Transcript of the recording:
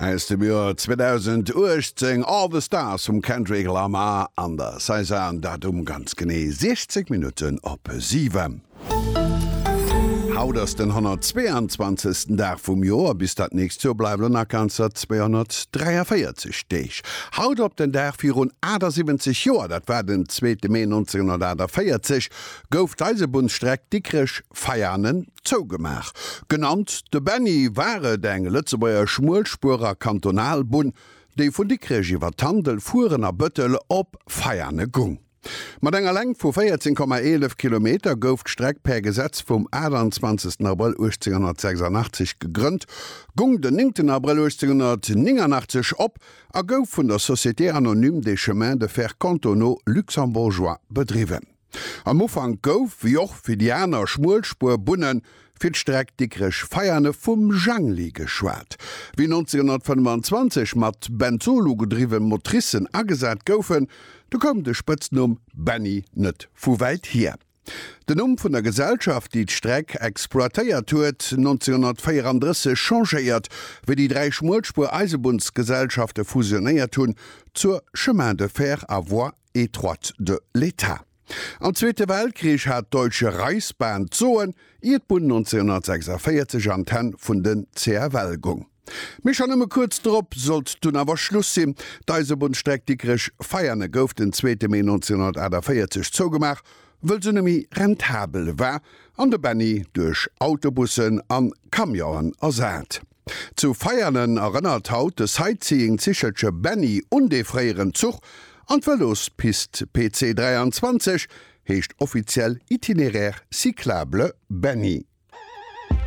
Aus dem Joer 2018, All the Stars vum Kendrick Lamar an der SZA, an dat um ganz genee 16 Minutten op 7. Haut ass den 122. Dag vum Joer, bis dat nächst Joer bleiwen elo nach ganzer 243 Deeg. Haut op den Dag virun 78 Joer, dat war den zweete Mee 1948, gouf d'Eisebunnsstreck Dikrech-Veianen zougemaach. Genannt de Benny, war et eng Lëtzebuerger Schmuelspuer a Kantonalbunn, déi vun Dikrech iwwer Tandel, Furen a Bëttel op Veiane gung. Mat enger Längt vu 14,11 Kilometer gouf d'Streck per Gesetz vum 28 Abrëll 1886 gegrënnt, gung den 9 Abrëll 1889 op a gouf vun der Société anonyme des chemins de fer cantonaux luxembourgeois bedriwwen. Am Ufank gouf, wéi och fir déi aner Schmuelspuerbunnen, fir d'Streck Dikrech-Veiane vum Jangli geschwat. Wéi 1925 mat Benzol ugedriwwe Motricen agesat goufen, du koum de Spëtznumm Benny net vu wäit hier. Den Numm vun der Gesellschaft, déi d'Streck exploitéiert huet, 1934 changéiert, wéi déi dräi Schmuelspuer-Eisebunnsgesellschafte fusionéiert hunn zur Chemins de fer à voie étroite de l'État. Am Zweete Weltkrich hat d'Deutsche Reichsbahn d'Soen, ier d'Bunn 1946 an d'Hänn vun den CFL goung. Mee schonn nëmme kuerz drop sollt dunn awer Schluss sinn. D'Eisebunnsstreck Dikrech-Veiane gouf den zweete Mee 1948 zougemaach, wëll se net méi rentabel war an de Benny duerch Autobussen an Camionen ersat. Zu Veianen erënnert haut de Sightseeing-Zichelche Benny un dee fréieren Zuch an d'Vëlospist PC 23 heescht offiziell Itinéraire cyclable Benny.